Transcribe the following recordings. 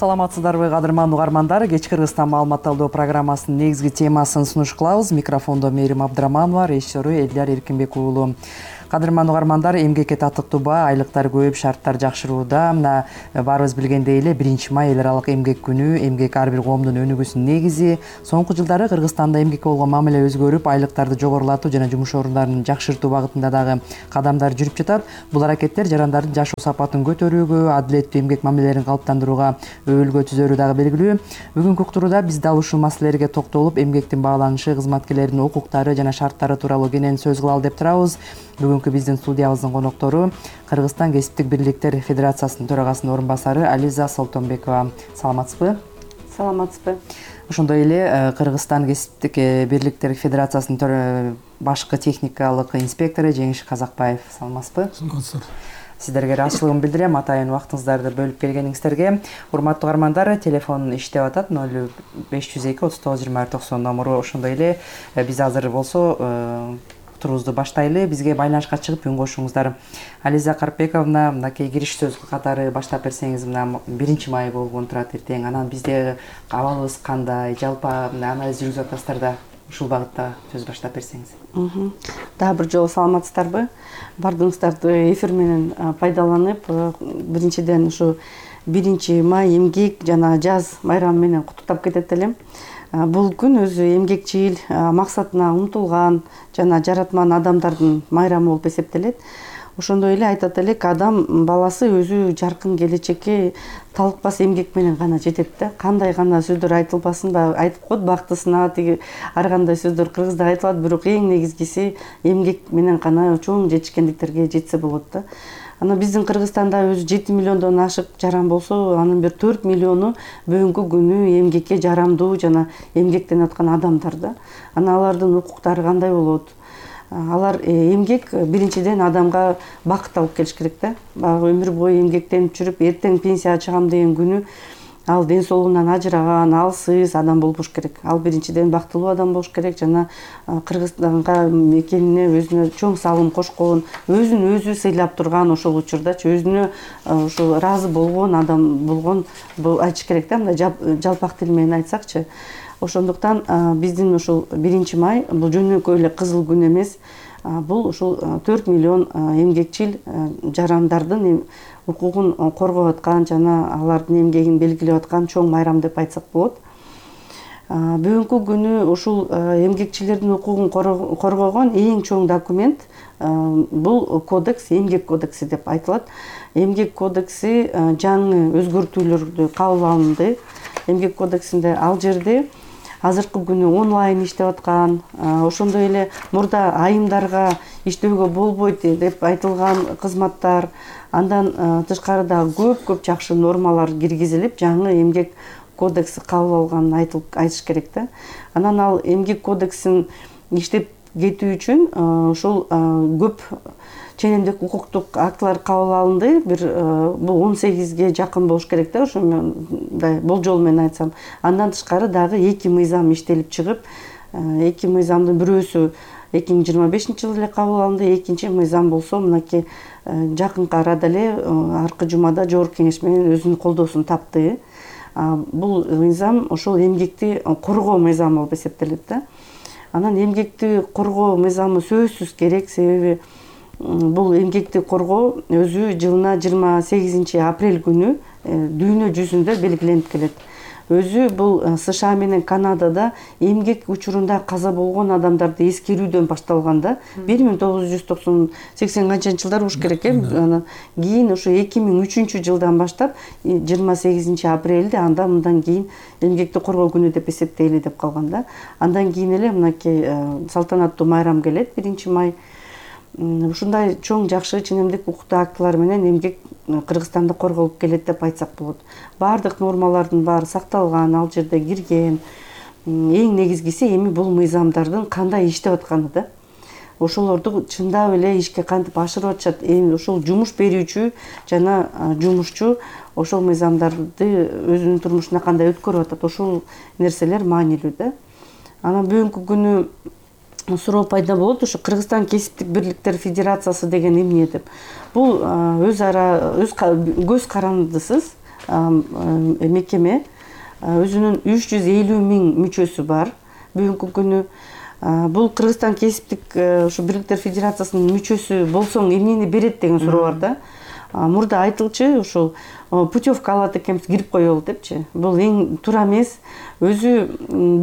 Саламатсыздарбы кадырман угармандар. Кеч Кыргызстан маалымат алуу программасынын негизги темасын сунуш кылабыз. Микрофондо Мээрим Абдыраманова, режиссеру Элдияр Эркинбек уулу. Кадырман угармандар, эмгекке татыктуу баа, айлыктар көп, шарттар жакшырууда. Мына баарыбыз билгендей эле 1-май эл аралык эмгек күнү. Эмгек ар бир коомдун өнүгүүсүнүн негизи. Соңку жылдары Кыргызстанда эмгекке болгон мамиле өзгөрүп, айлыктарды жогорулатуу жана жумуш орундарын жакшыртуу багытында дагы кадамдар жүрүп жатат. Бул аракеттер жарандардын жашоо сапатын көтөрүүгө, адилеттүү эмгек мамилелерин калыптандырууга өбөлгө түзөрү дагы белгилүү. Бүгүнкү уктурууда биз дал ушул маселелерге токтолуп, эмгектин бааланышы, кызматкерлердин укуктары жана шарттары тууралуу кенен сөз кылалы деп турабыз. Бүгүнкү биздин студиябыздын коноктору Кыргызстан кесиптик бирликтер федерациясынын төрагасынын орун басары Ализа Солтонбекова. Саламатсызбы? Саламатсызбы. Ошондой эле Кыргызстан кесиптик бирликтер федерациясынын башкы техникалык инспектору Жеңиш Казакбаев. Саламатсызбы? Саламатсыздар. Сиздерге ыраазычылыгымды билдирем, атайын убактыңыздарды бөлүп келгениңиздерге. Урматтуу угармандар, телефон иштеп атат 0502 39 20 90 номуру. Ошондой эле биз азыр болсо турубузду баштайлы. Бизге байланышка чыгып үн кошуңуздар. Ализа Карпековна, мынакей кириш сөз катары баштап берсеңиз, мына 1-май болгон турат эртең. Анан бизде абалыбыз кандай, жалпы анализ жүргүзүп атасыздар да, ушул багытта сөз баштап берсеңиз. Дагы бир жолу саламатсыздарбы? Бардыгыңыздарды эфир менен пайдаланып, биринчиден ушу 1-май эмгек жана жаз майрамы менен куттуктап кетет элем. Бул күн өзү эмгекчил, максатына умтулган жана жаратман адамдардын майрамы болуп эсептелет. Ошондой эле айтат элек, адам баласы өзү жаркын келечекке талыкпас эмгек менен гана жетет да. Кандай гана сөздөр айтылбасын, айтып коет бактысына, тиги ар кандай сөздөр кыргызда айтылат, бирок эң негизгиси эмгек менен гана чоң жетишкендиктерге жетсе болот да. Ана биздин Кыргызстанда өзү 7 миллиондон ашык жаран болсо, анын бир 4 миллиону бүгүнкү күнү эмгекке жарамдуу жана эмгектенип аткан адамдар да. Ана алардын укуктары кандай болот? Алар эмгек биринчиден адамга бакыт алып келиш керек да. Баягы өмүр бою эмгектенип жүрүп, эртең пенсияга чыгам деген күнү ал ден соолугунан ажыраган, алсыз адам болбош керек. Ал биринчиден бактылуу адам болуш керек жана Кыргызстанга экенине өзүнө чоң салым кошкон, өзүн өзү сыйлап турган ошол учурдачы өзүнө ошол ыраазы болгон адам болгон айтыш керек да, мындай жалпак тил менен айтсакчы. Ошондуктан биздин ушул 1-май бул жөнөкөй эле кызыл күн эмес. Бул ушул 4 миллион эмгекчил жарандардын укугун коргоп аткан жана алардын эмгегин белгилеп аткан чоң майрам деп айтсак болот. Бүгүнкү күнү ушул эмгекчилердин укугун коргогон эң чоң документ бул кодекс, эмгек кодекси деп айтылат. Эмгек кодекси жаңы өзгөртүүлөрдү кабыл алынды. Эмгек кодексинде ал жерде азыркы күнү онлайн иштеп аткан, ошондой эле мурда айымдарга иштөөгө болбойт деп айтылган кызматтар, андан тышкары дагы көп жакшы нормалар киргизилип, жаңы эмгек кодекси кабыл алганын айтыш керек да. Анан ал эмгек кодексин иштеп кетүү үчүн ушул көп ченемдик укуктук актылар кабыл алынды. Бул 18ге жакын болуш керек да, ошондой болжол менен айтсам. Андан тышкары дагы 2 мыйзам иштелип чыгып, 2 мыйзамдын бирөөсү 2025-жылы эле кабыл алынды, экинчи мыйзам болсо мынакей жакынкы арада эле аркы жумада жогорку кеңеш менен өзүнүн колдоосун тапты. Бул мыйзам ошол эмгекти коргоо мыйзамы болуп эсептелет да. Анан эмгекти коргоо мыйзамы сөзсүз керек, себеби бул эмгекти коргоо өзү жылына 28 апрель күнү дүйнө жүзүндө белгиленип келет. Өзү бул США менен Канадада эмгек учурунда каза болгон адамдарды эскерүүдөн башталган да. 1980 канчанчы жылдар болуш керек анан кийин ошо 2003-жылдан баштап 28 апрелде андан кийин эмгекти коргоо күнү деп эсептейли деп калган да. Андан кийин эле мынакей салтанаттуу майрам келет 1-май. Ушундай чоң жакшы ченемдик укуктуу актылар менен эмгек Кыргызстанда корголуп келет деп айтсак болот. Бардык нормалардын баары сакталган, ал жерде кирген. Эң негизгиси эми бул мыйзамдардын кандай иштеп атканы да. Ошолорду чындап эле ишке кантип ашырып атышат. Эми ошол жумуш берүүчү жана жумушчу ошол мыйзамдарды өзүнүн турмушуна кандай өткөрүп атат, ошол нерселер маанилүү да. Анан бүгүнкү күнү суроо пайда болот, ушу Кыргызстан кесиптик бирликтер федерациясы деген эмне деп. Бул өз көз карандысыз мекеме, өзүнүн 350 миң мүчөсү бар. Бүгүнкү күнү бул Кыргызстан кесиптик ушу бирликтер федерациясынын мүчөсү болсоң эмнени берет деген суроо бар да. Мурда айтылчу ушул путевка алат экенбиз, кирип коелу депчи. Бул эң туура эмес. Өзү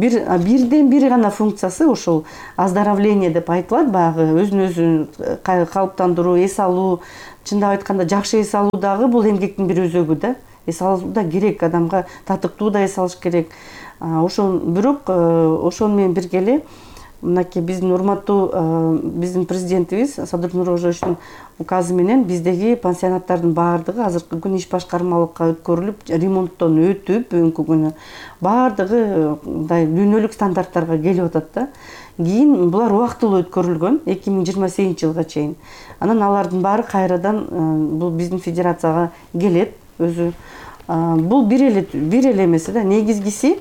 бирден бир гана функциясы ушул оздоровление деп айтылат, баягы өзүн өзү калыптандыруу, эс алуу. Чындап айтканда жакшы эс алуу дагы бул эмгектин бир өзөгү да. Эс алуу да керек, адамга татыктуу да эс алыш керек. Ошол бирок ошол менен бирге эле мынакей биздин урматтуу биздин президентибиз Садыр Нурожовичтин указы менен биздеги пансионаттардын баардыгы азыркы күн иш башкармалыкка өткөрүлүп, ремонттон өтүп, бүгүнкү күнү баардыгы мындай дүйнөлүк стандарттарга келип атат да. Кийин булар убактылуу өткөрүлгөн 2028-жылга чейин. Анан алардын баары кайрадан бул биздин федерацияга келет. Өзү бул бир эле эмес да, негизгиси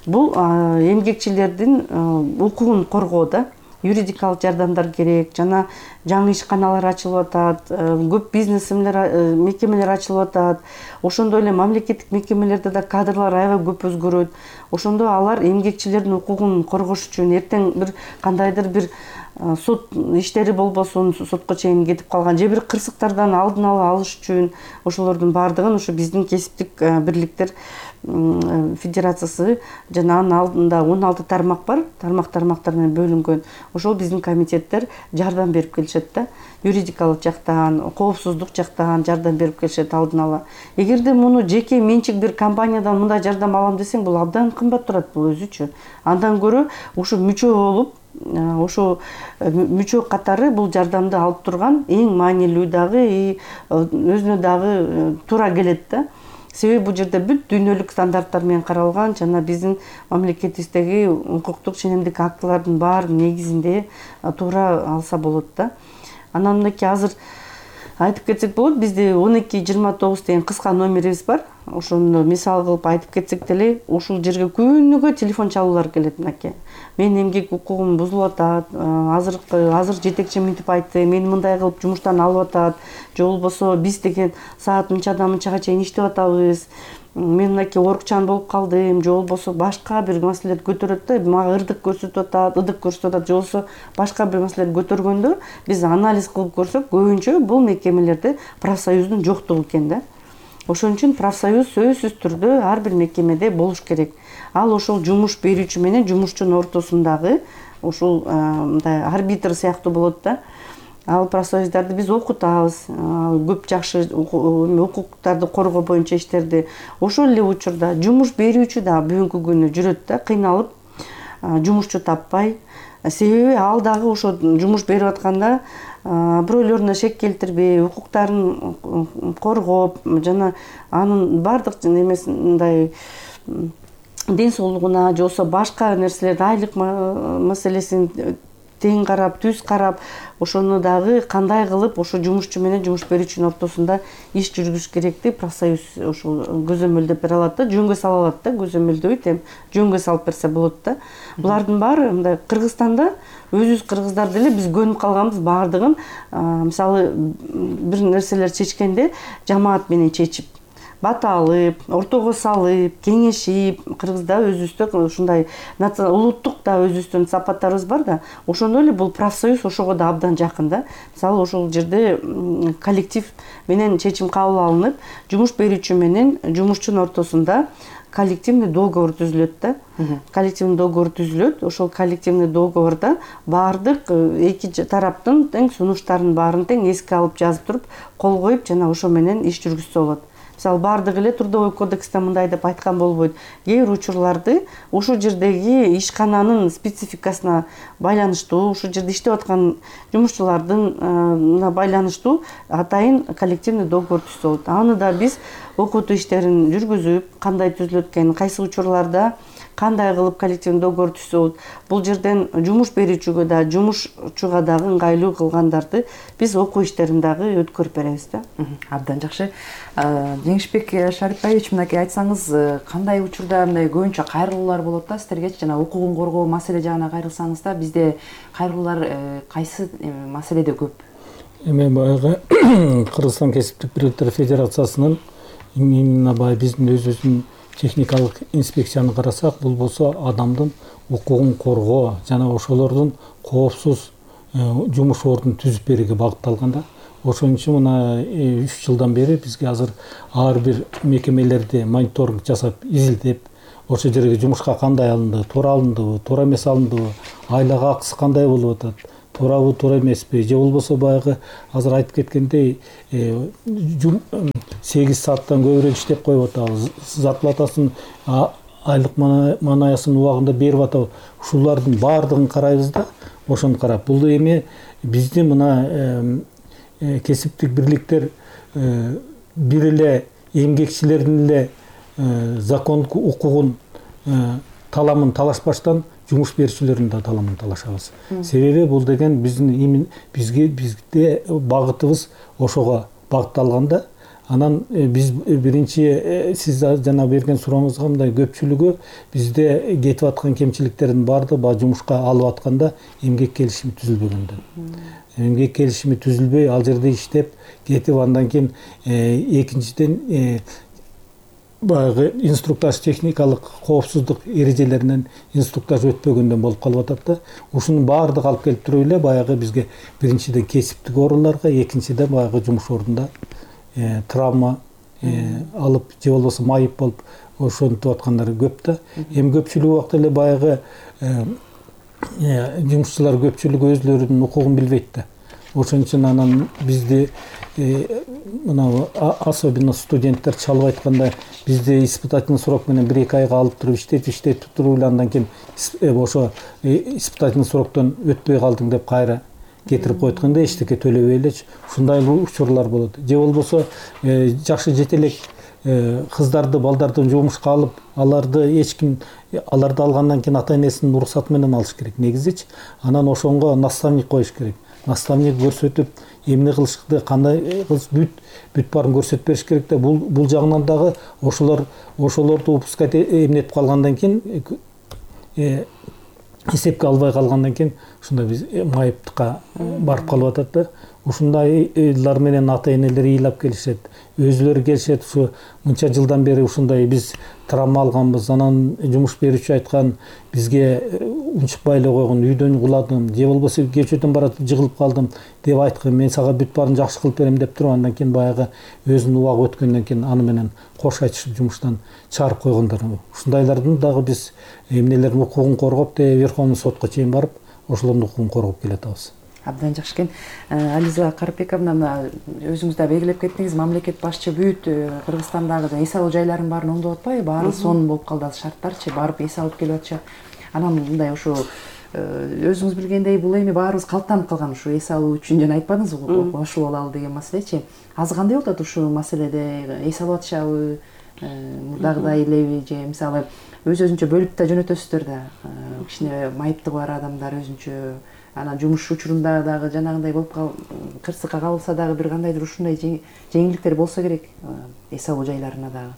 бул эмгекчилердин укугун коргоо да. Юридикалык жардамдар керек, жана жаңы ишканалар ачылып атат, көп бизнес мекемелер ачылып атат. Ошондой эле мамлекеттик мекемелерде да кадрлар аябай көп өзгөрөт. Ошондо алар эмгекчилердин укугун коргош үчүн эртең бир кандайдыр бир сот иштери болбосун, сотко чейин кетип калган же бир кырсыктардан алдын ала алыш үчүн ошолордун баардыгын ушу биздин кесиптик бирликтер федерациясы жана анын алдында 16 тармак бар, тармактар менен бөлүнгөн. Ошол биздин комитеттер жардам берип келишет да. Юридикалык жактан, коопсуздук жактан жардам берип келишет алдын ала. Эгерде муну жеке менчик бир компаниядан мындай жардам алам десең, бул абдан кымбат турат бул өзүчө. Андан көрө ушу мүчө болуп, ошо мүчө катары бул жардамды алып турган эң маанилүү дагы, өзүнө дагы туура келет да. Себеби бул жерде бүт дүйнөлүк стандарттар менен каралган, жана биздин мамлекетибиздеги укуктук ченемдик актылардын баары негизинде туура алса болот да. Анан мынакей азыр айтып кетсек болот, бизде 1229 деген кыска номерибиз бар. Ошону мисал кылып айтып кетсек деле, ушул жерге күнүгө телефон чалуулар келет мынакей. Менин эмгек укугум бузулуп атат, азыр жетекчи мынтип айтты, мени мындай кылып жумуштан алып атат, же болбосо биз деген саат мынчадан мынчага чейин иштеп атабыз, мен мынакей оорукчан болуп калдым, же болбосо башка бир маселелерди көтөрөт да, мага ырдык көрсөтүп атат, же болбосо башка бир маселелерди көтөргөндө биз анализ кылып көрсөк, көбүнчө бул мекемелерде профсоюздун жоктугу экен да. Ошон үчүн профсоюз сөзсүз түрдө ар бир мекемеде болуш керек. Ал ошол жумуш берүүчү менен жумушчунун ортосундагы ушул мындай арбитр сыяктуу болот да. Ал профсоюздарды биз окутабыз, көп жакшы укуктарды коргоо боюнча иштерди. Ошол эле учурда жумуш берүүчү да бүгүнкү күнү жүрөт да, кыйналып, жумушчу таппай. Себеби ал дагы ошо жумуш берип атканда бирөөлөрүнө шек келтирбей, укуктарын коргоп, жана анын баардык немеси мындай ден соолугуна, же болбосо башка нерселерди, айлык маселесин тең карап, түз карап, ошону дагы кандай кылып ошо жумушчу менен жумуш берүүчүнүн ортосунда иш жүргүзүш керекти профсоюз ошол көзөмөлдөп бере алат да, жөнгө сала алат да, көзөмөлдөйт, эми жөнгө салып берсе болот да. Булардын баары мындай Кыргызстанда өзүбүз кыргыздар деле биз көнүп калганбыз баардыгын, мисалы бир нерселер чечкенде жамаат менен чечип, бата алып, ортого салып, кеңешип, кыргызда өзүбүздө ушундай улуттук да өзүбүздүн сапаттарыбыз бар да. Ошондой эле бул профсоюз ошого да абдан жакын да. Мисалы ошол жерде коллектив менен чечим кабыл алынып, жумуш берүүчү менен жумушчунун ортосунда коллективный договор түзүлөт да. Коллективный договор түзүлөт. Ошол коллективный договорда баардык эки тараптын тең сунуштарын баарын тең эске алып жазып туруп, кол коюп, жана ошо менен иш жүргүзсө болот. Мисалы баардыгы эле трудовой кодексте мындай деп айткан болбойт. Кээ бир учурларды ошол жердеги ишкананын спецификасына байланыштуу, ошол жерде иштеп аткан жумушчулардын байланыштуу атайын коллективный договор түзсө болот. Аны да биз окутуу иштерин жүргүзүп, кандай түзүлөт экен, кайсы учурларда кандай кылып коллективный договор түзсө болот. Бул жерден жумуш берүүчүгө да, жумушчуга дагы ыңгайлуу кылгандарды биз окуу иштерин дагы өткөрүп беребиз да. Абдан жакшы. Жеңишбек Шарипбаевич, мынакей айтсаңыз, кандай учурда мындай көбүнчө кайрылуулар болот да сиздерге, жана укугун коргоо маселе жагына кайрылсаңыз да, бизде кайрылуулар кайсы маселеде көп? Эми баягы Кыргызстан кесиптик бирликтер федерациясынын именно баягы биздин өзүбүздүн техникалык инспекцияны карасак, бул болсо адамдын укугун коргоо жана ошолордун коопсуз жумуш ордун түзүп берүүгө багытталган да. Ошон үчүн мына 3 жылдан бери бизге азыр ар бир мекемелерди мониторинг жасап, изилдеп, ошол жерге жумушка кандай алынды, туура алындыбы, туура эмес алындыбы, айлык акысы кандай болуп атат, туурабы, туура эмеспи, же болбосо баягы азыр айтып кеткендей 8 сааттан көбүрөөк иштеп коюп атабыз, зарплатасын айлык манаясын убагында берип атабыз. Ушулардын баардыгын карайбыз да. Ошону карап, бул эми биздин мына кесиптик бирликтер бир эле эмгекчилердин эле закондук укугун таламын талашпаштан жумуш берүүчүлөрдүн да таламын талашабыз. Себеби бул деген бизде багытыбыз ошого багытталганда, анан биз биринчи сиз жана берген сурооңузга мындай көпчүлүгү бизде кетип аткан кемчиликтердин баардыгы баягы жумушка алып атканда эмгек келишими түзүлбөгөндөн. Эмгек келишими түзүлбөй ал жерде иштеп кетип, андан кийин экинчиден баягы инструктаж, техникалык коопсуздук эрежелеринен инструктаж өтпөгөндөн болуп калып атат да. Ушунун баардыгы алып келип туруп эле баягы бизге биринчиден кесиптик ооруларга, экинчиден баягы жумуш ордунда травма алып же болбосо майып болуп ошентип аткандар көп да. Эми көпчүлүк убакта эле баягы жумушчулар көпчүлүгү өзлөрүнүн укугун билбейт да. Ошон үчүн анан бизди мына особенно студенттер чалып айтканда, бизди испытательный срок менен 1-2 айга алып туруп иштетип туруп эле андан кийин ошо испытательный сроктон өтпөй калдың деп кайра кетирип койгондо эчтеке төлөбөй элечи. Ушундай учурлар болот. Же болбосо жакшы жетелек кыздарды, балдарды жумушка алып, аларды алгандан кийин ата-энесинин уруксаты менен алыш керек негизичи. Анан ошонго наставник коюш керек. Наставник көрсөтүп, эмне кылышты, кандай кылыш бүт баарын көрсөтүп бериш керек да. Бул жагынан дагы ошолорду упускать эмнетип калгандан кийин, эсепке албай калгандан кийин ушундай биз майыптыкка барып калып атат да. Ушундайлар менен ата-энелер ыйлап келишет, өзүлөрү келишет. Ушу мынча жылдан бери ушундай биз травма алганбыз, анан жумуш берүүчү айткан, бизге унчукпай эле койгон, үйдөн куладым, же болбосо кечөөдөн баратып жыгылып калдым деп айткан, мен сага бүт баарын жакшы кылып берем деп туруп, андан кийин баягы өзүнүн убагы өткөндөн кийин аны менен кош айтышып жумуштан чыгарып койгондор. Ушундайлардын дагы биз эмнелердин укугун коргоп, Верховный сотко чейин барып, ошолордун укугун коргоп келатабыз. Абдан жакшы экен. Ализа Карпековна, өзүңүз да белгилеп кеттиңиз, мамлекет башчы бүт Кыргызстандагы эс алуу жайларын баарын оңдоп атпайбы? Баары сонун болуп калды шарттарчы, барып эс алып келип атышат. Анан мындай ошо өзүңүз билгендей, бул эми баарыбыз калыптанып калган ушу эс алуу үчүн жана айтпадыңызбы, кошулуп алалы деген маселечи. Азыр кандай болуп атат ушул маселеде? Эс алып атышабы? Мурдагыдай элеби, же мисалы өзүнчө бөлүп да жөнөтөсүздөр да, кичине майыптыгы бар адамдар өзүнчө, анан жумуш учурунда дагы жанагындай болуп кырсыкка кабылса дагы бир кандайдыр ушундай жеңилдиктер болсо керек эс алуу жайларына дагы.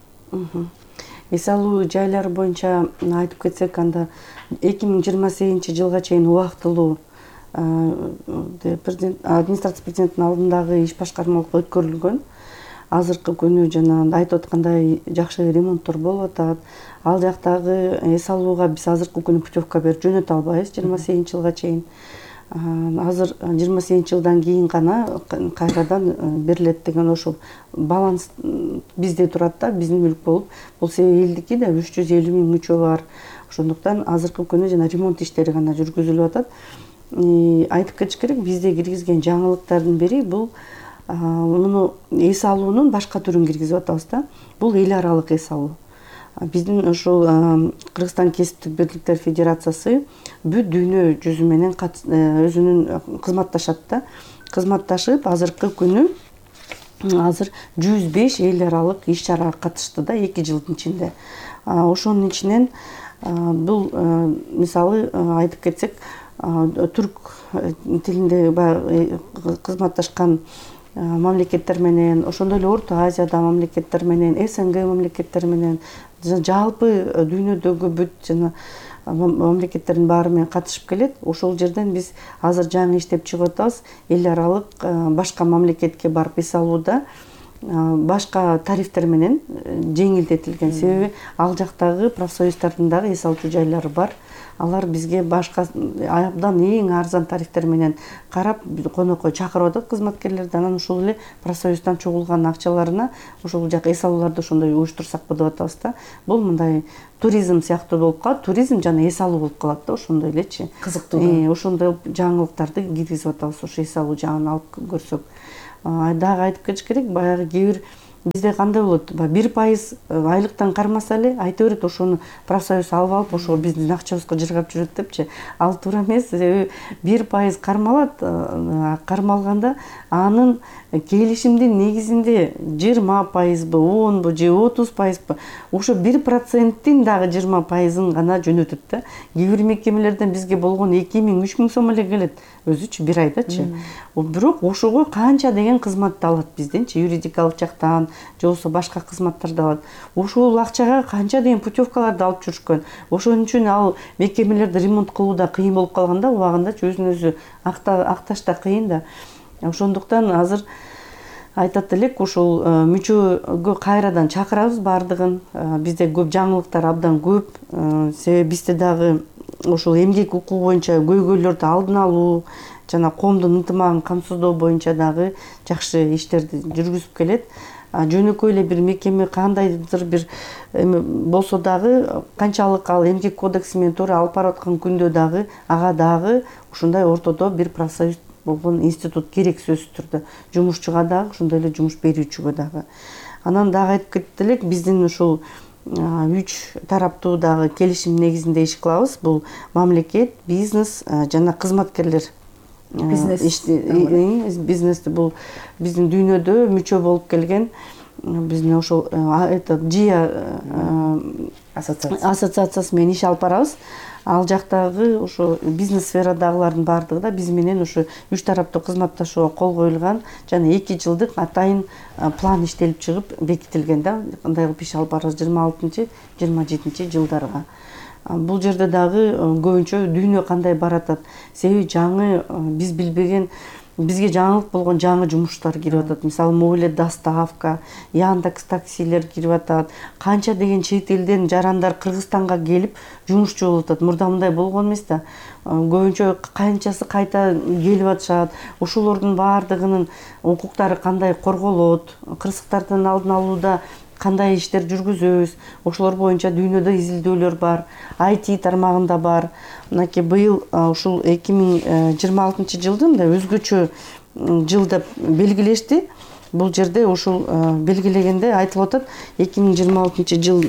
Эс алуу жайлары боюнча айтып кетсек, анда 2028 жылга чейин убактылуу администрация президенттин алдындагы иш башкармалык өткөрүлгөн. Азыркы күнү жана айтып аткандай жакшы ремонттор болуп атат. Ал жактагы эс алууга биз азыркы күнү путевка берип жөнөтө албайбыз 28 жылга чейин. Азыр 28 жылдан кийин гана кайрадан берилет деген ошол баланс бизде турат да, биздин мүлк болуп. Бул элдики да 350 000 мүчө бар. Ошондуктан азыркы күнү жана ремонт иштери гана жүргүзүлүп атат. Айтып кетиш керек, бизде киргизген жаңылыктардын бири бул муну эс алуунун башка түрүн киргизип атабыз да. Бул эл аралык эс алуу. Биздин ушул Кыргызстан кесиптик бирликтер федерациясы бүт дүйнө жүзү менен өзүнүн кызматташат да. Кызматташып, азыркы күнү азыр 105 эл аралык иш чарага катышты да 2 жылдын ичинде. Ошонун ичинен бул мисалы айтып кетсек, түрк тилинде кызматташкан мамлекеттер менен, ошондой эле Орто Азияда мамлекеттер менен, СНГ мамлекеттери менен, жалпы дүйнөдөгү бүт жана мамлекеттердин баары менен катышып келет. Ошол жерден биз азыр жаңы иштеп чыгып атабыз. Эл аралык башка мамлекетке барып эс алууда башка тарифтер менен жеңилдетилген. Себеби ал жактагы профсоюздардын дагы эс алчу жайлары бар. Алар бизге башка абдан эң арзан тарифтер менен карап конокко чакырып атат кызматкерлерди. Анан ушул эле профсоюздан чогулган акчаларына ушул жак эс алууларды ошондой уюштурсакпы деп атабыз да. Бул мындай туризм сыяктуу болуп калат. Туризм жана эс алуу болуп калат да, ошондой элечи. Кызыктуу. Ошондой жаңылыктарды киргизип атабыз ушу эс алуу жагын алып көрсөк. Дагы айтып кетиш керек, баягы кээ бир бизде кандай болот? 1% айлыктан кармаса эле айта берет, ошону профсоюз алып ошо биздин акчабызга жыргап жүрөт депчи. Ал туура эмес. 1% кармалат. Кармалганда анын келишимдин негизинде 20%бы, 10бы же 30%бы, ошо 1%тин дагы 20%ын гана жөнөтөт да. Кээ бир мекемелерден бизге болгон 2000–3000 сом эле келет өзүчү бир айдачы. Бирок ошого канча деген кызматты алат бизденчи, юридикалык жактан же болбосо башка кызматтарды алат. Ошол акчага канча деген путевкаларды алып жүрүшкөн. Ошон үчүн ал мекемелерди ремонт кылууда кыйын болуп калганда, убагындачы өзүн өзү акташ да кыйын да. Ошондуктан азыр айтат элек, ушул мүчөгө кайрадан чакырабыз баардыгын. Бизде көп жаңылыктар абдан көп. Себеби бизде дагы ошол эмгек укугу боюнча көйгөйлөрдү алдын алуу жана коомдун ынтымагын камсыздоо боюнча дагы жакшы иштерди жүргүзүп келет. Жөнөкөй эле бир мекеме кандайдыр бир болсо дагы, канчалык ал эмгек кодекси менен туура алып барып аткан күндө дагы ага дагы ушундай ортодо бир профсоюз болгон институт керек сөзсүз түрдө. Жумушчуга дагы, ошондой эле жумуш берүүчүгө дагы. Анан дагы айтып кетет элек, биздин ушул 3 тараптуу дагы келишим негизинде иш кылабыз. Бул мамлекет, бизнес жана кызматкерлер. Бизнести бул биздин дүйнөдө мүчө болуп келген биздин ошол ЖИА ассоциациясы менен иш алып барабыз. Ал жактагы ошо бизнес сферадагылардын баардыгы да биз менен ошо 3 тараптуу кызматташууга кол коюлган жана 2 жылдык атайын план иштелип чыгып бекитилген да. Кандай кылып иш алып барабыз 26–27 жылдарга. Бул жерде дагы көбүнчө дүйнө кандай баратат. Себеби жаңы биз билбеген, бизге жаңылык болгон жаңы жумуштар кирип атат. Мисалы, мобиле доставка, Яндекс таксилер кирип атат. Канча деген чет элден жарандар Кыргызстанга келип жумушчу болуп атат. Мурда мындай болгон эмес да. Көбүнчө канчасы кайта келип атышат. Ошолордун баардыгынын укуктары кандай корголот, кырсыктардын алдын алууда кандай иштер жүргүзөбүз, ошолор боюнча дүйнөдө изилдөөлөр бар, IT тармагында бар. Мынакей быйыл ушул 2026 жылды мындай өзгөчө жыл деп белгилешти. Бул жерде ушул белгилегенде айтылып атат, 2026 жыл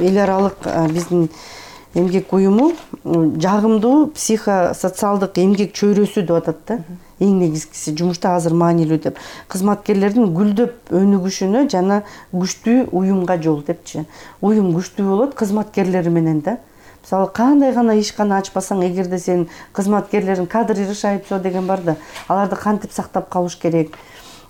эл аралык биздин эмгек уюму жагымдуу психосоциалдык эмгек чөйрөсү деп атат да. Эң негизгиси жумушта азыр маанилүү деп. Кызматкерлердин гүлдөп өнүгүшүнө жана күчтүү уюмга жол депчи. Уюм күчтүү болот кызматкерлери менен да. Мисалы, кандай гана ишкана ачпасаң, эгерде сен кызматкерлерин кадр решает деген бар да, аларды кантип сактап калыш керек.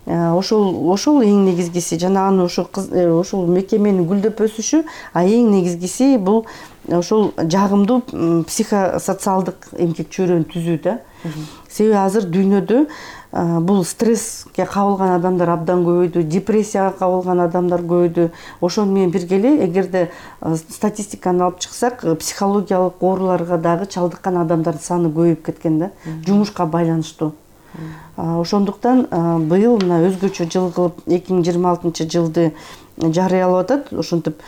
Ошол эң негизгиси. Жана аны ошол мекеменин гүлдөп өсүшү, а эң негизгиси бул ошол жагымдуу психосоциалдык эмгек чөйрөнү түзүү да. Себеби азыр дүйнөдө бул стресске кабылган адамдар абдан көбөйдү, депрессияга кабылган адамдар көбөйдү. Ошону менен бирге эле эгерде статистиканы алып чыксак, психологиялык ооруларга дагы чалдыккан адамдардын саны көбөйүп кеткен да, жумушка байланыштуу. Ошондуктан быйыл мына өзгөчө жыл кылып 2026 жылды жарыялап атат. Ошентип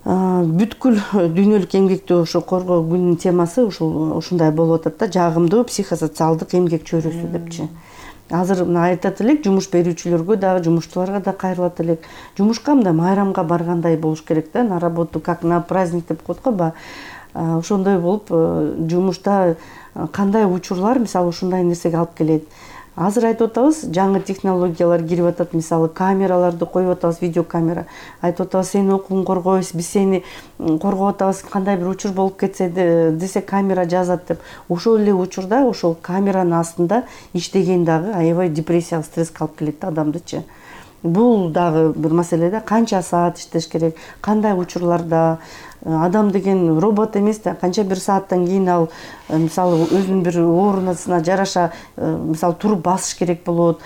бүткүл дүйнөлүк эмгекти ошо коргоо күнүнүн темасы ушундай болуп атат да, жагымдуу психосоциалдык эмгек чөйрөсү депчи. Азыр мына айтат элек, жумуш берүүчүлөргө дагы, жумуштууларга да кайрылат элек. Жумушка мындай майрамга баргандай болуш керек да, на работу как на праздник деп коет го. Ошондой болуп жумушта кандай учурлар мисалы ушундай нерсеге алып келет. Азыр айтып атабыз, жаңы технологиялар кирип атат, мисалы камераларды коюп атабыз, видеокамера. Айтып атабыз, сени укугуң коргойбуз, биз сени коргоп атабыз, кандай бир учур болуп кетсе десе камера жазат деп. Ошол эле учурда ошол камеранын астында иштеген дагы аябай депрессияга, стресске алып келет да адамдычы. бул дагы бир маселе да, канча саат иштеш керек, кандай учурларда. Адам деген робот эмес да, канча бир сааттан кийин ал мисалы өзүнүн бир оорунасына жараша мисалы туруп басыш керек болот,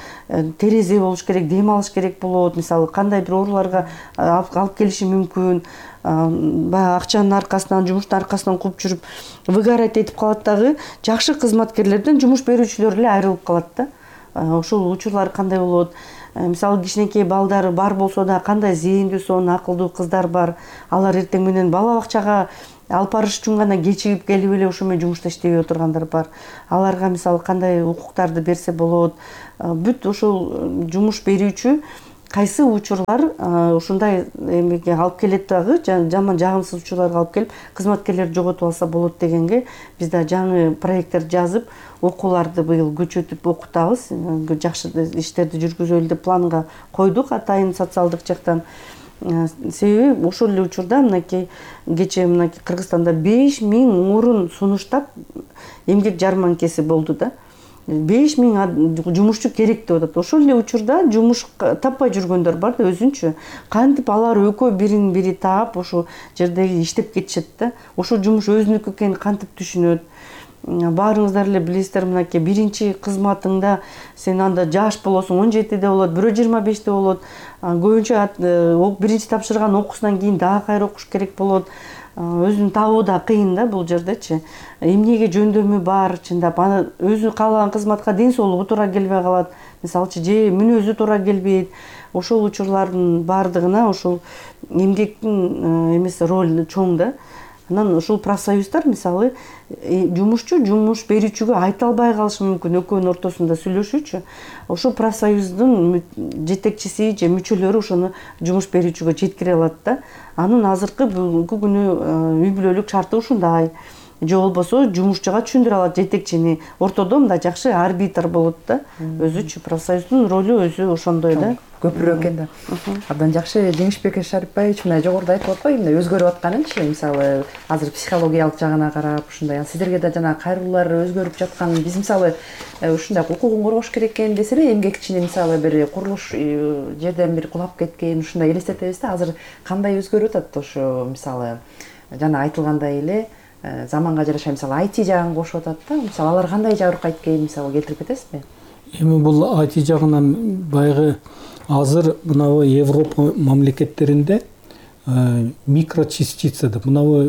терезе болуш керек, дем алыш керек болот, мисалы кандай бир ооруларга алып келиши мүмкүн. Баягы акчанын аркасынан, жумуштун аркасынан кууп жүрүп выгорать этип калат дагы, жакшы кызматкерлерден жумуш берүүчүлөр эле айрылып калат да. Ошол учурлар кандай болот? Мисалы кичинекей балдары бар болсо да, кандай зээндүү, сонун, акылдуу кыздар бар. Алар эртең менен бала бакчага алып барыш үчүн гана кечигип келип эле ошо менен жумушта иштебей отургандар бар. Аларга мисалы кандай укуктарды берсе болот? Бүт ошол жумуш берүүчү кайсы учурлар ушундай эмеге алып келет дагы, жаман жагымсыз учурларга алып келип, кызматкерлерди жоготуп алса болот дегенге биз да жаңы проекттер жазып, окууларды быйыл көчөтүп окутабыз. Жакшы иштерди жүргүзөлү деп планга койдук атайын социалдык жактан. Себеби ошол эле учурда мынакей кечээ Кыргызстанда 5000 орун сунуштап эмгек жарманкеси болду да. 5000 жумушчу керек деп атат. Ошол эле учурда жумуш таппай жүргөндөр бар да, өзүнчө. Кантип алар экөө бирин бири таап ошол жерде иштеп кетишет да. Ошол жумуш өзүнүкү экенин кантип түшүнөт. Баарыңыздар эле билесиздер, мынакей биринчи кызматыңда сен анда жаш болосуң, 17де болот, бирөө 25те болот. Көбүнчө биринчи тапшырган окуусунан кийин дагы кайра окуш керек болот. Өзүн табуу да кыйын да бул жердечи. Эмнеге жөндөмү бар, чындап аны өзү каалаган кызматка ден соолугу туура келбей калат. Мисалчы же мүнөзү туура келбейт. Ошол учурлардын баардыгына ошол эмгектин эмеси ролу чоң да. Анан ушул профсоюздар мисалы жумушчу жумуш берүүчүгө айта албай калышы мүмкүн, экөөнүн ортосунда сүйлөшүүчү. Ошол профсоюздун жетекчиси же мүчөлөрү ошону жумуш берүүчүгө жеткире алат да. Анын азыркы бүгүнкү күнү үй бүлөлүк шарты ушундай. Же болбосо жумушчуга түшүндүрө алат жетекчини. Ортодо мындай жакшы арбитр болот да. Өзүчү профсоюздун ролу өзү ошондой да. Көпүрөөк экен да. Абдан жакшы. Жеңишбек Шарипбаевич мына жогоруда айтып атпайбы, мына өзгөрүп атканынчы, мисалы азыр психологиялык жагына карап ушундай. Сиздерге да жана кайрылуулар өзгөрүп жаткан. Биз мисалы ушундай укугун коргош керек экен десе эле, эмгекчини мисалы бир курулуш жерден бир кулап кеткен, ушундай элестетебиз да. Азыр кандай өзгөрүп атат ошо мисалы жана айтылгандай эле заманга жараша мисалы IT жагын кошуп атат да. Мисалы алар кандай жабыркайт экенин мисалы келтирип кетесизби? Эми бул IT жагынан баягы азыр мынабу Европа мамлекеттеринде микрочастица деп мынабу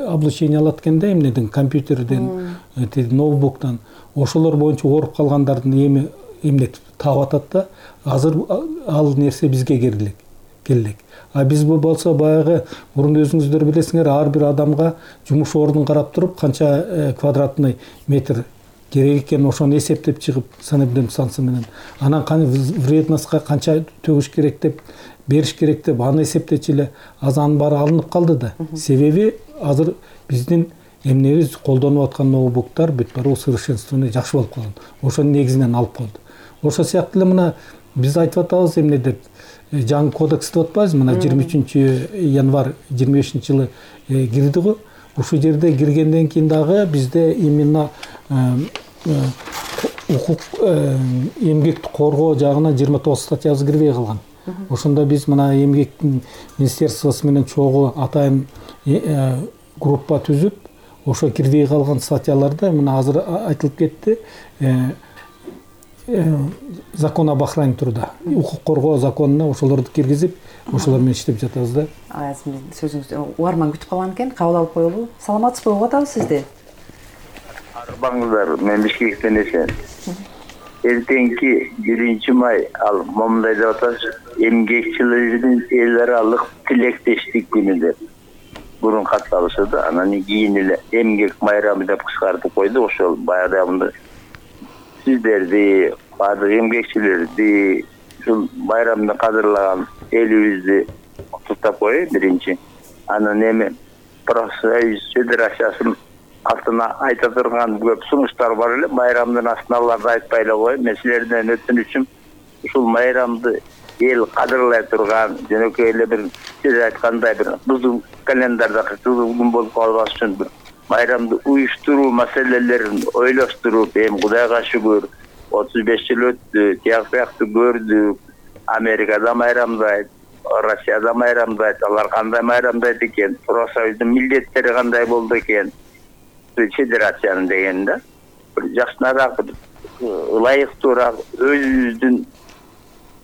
облучение алат экен да, эмнеден, компьютерден, ноутбуктан. Ошолор боюнча ооруп калгандардын эмнетип таап атат да. Азыр ал нерсе бизге келелек. А биз болсо баягы мурун өзүңүздөр билесиңер, ар бир адамга жумуш ордун карап туруп канча квадратный метр керек экен ошону эсептеп чыгып санабден сансы менен анан вредностька канча төгүш керек деп бериш керек деп аны эсептечи эле азыр анын баары алынып калды да. Себеби азыр биздин эмнебиз колдонуп аткан ноутбуктар бүт баары усовершенствованный жакшы болуп калган. Ошонун негизинен алып койду. Ошол сыяктуу эле мына биз айтып атабыз эмне деп жаңы кодекс деп атпайбызбы, мына 23 январь 25-жылы кирди го. Ушул жерде киргенден кийин дагы бизде именно укук эмгекти коргоо жагына 29 статьябыз кирбей калган. Ошондо биз мына эмгектин министерствосу менен чогуу атайын группа түзүп, ошо кирбей калган статьяларды мына азыр айтылып кетти. Закон об охране труда, укук коргоо законуна ошолорду киргизип, ошолор менен иштеп жатабыз да. Сөзүңүздү угарман күтүп калган экен, кабыл алып коелу. Саламатсызбы, угуп атабыз сизди. Арбаңыздар, мен Бишкектен эсен. Эртеңки 1 май ал момундай деп атабыз, эмгекчилердин эл аралык тилектештик күнү деп. Бурун катталышы да, анан кийин эле эмгек майрамы деп кыскартып койду. Ошол баягы сиздерди, баардык эмгекчилерди ушул байрамды кадырлаган элибизди куттуктап коеюн биринчи. Анан эми профсоюз федерациясынын артына айта турган көп сунуштар бар эле. Байрамдын астына аларды айтпай эле коеюн. Мен силерден өтүнүчүм ушул майрамды эл кадырлай турган, жөнөкөй эле бир сиз айткандай бир кызыл календарда кызыл күн болуп калбаш үчүн бир майрамды уюштуруу маселелерин ойлоштуруп, эми Кудайга шүгүр 35 жыл өттү, тияк биякты көрдүк. Америкада майрамдайт, Россияда майрамдайт. Алар кандай майрамдайт экен? Профсоюздун милдеттери кандай болду экен? Федерациянын деген да. Бир жакшыраак, ылайыктуураак өзүбүздүн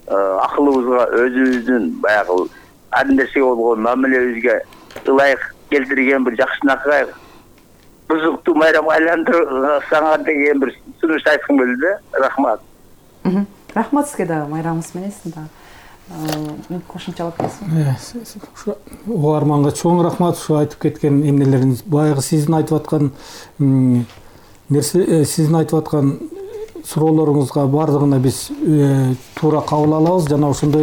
акылыбызга, өзүбүздүн баягы ар нерсеге болгон мамилебизге ылайык келтирген бир жакшынакай бузуктуу майрамга айландырсаңар деген бир сунуш айткым келди да. Рахмат. Рахмат сизге дагы майрамыңыз менен сиз дагы кошумчалап кетесизби? Угарманга чоң рахмат ушу айтып кеткен эмнелериңиз. Баягы сиздин айтып аткан нерсе, сиздин айтып аткан суроолоруңузга бардыгына биз туура кабыл алабыз жана ошондой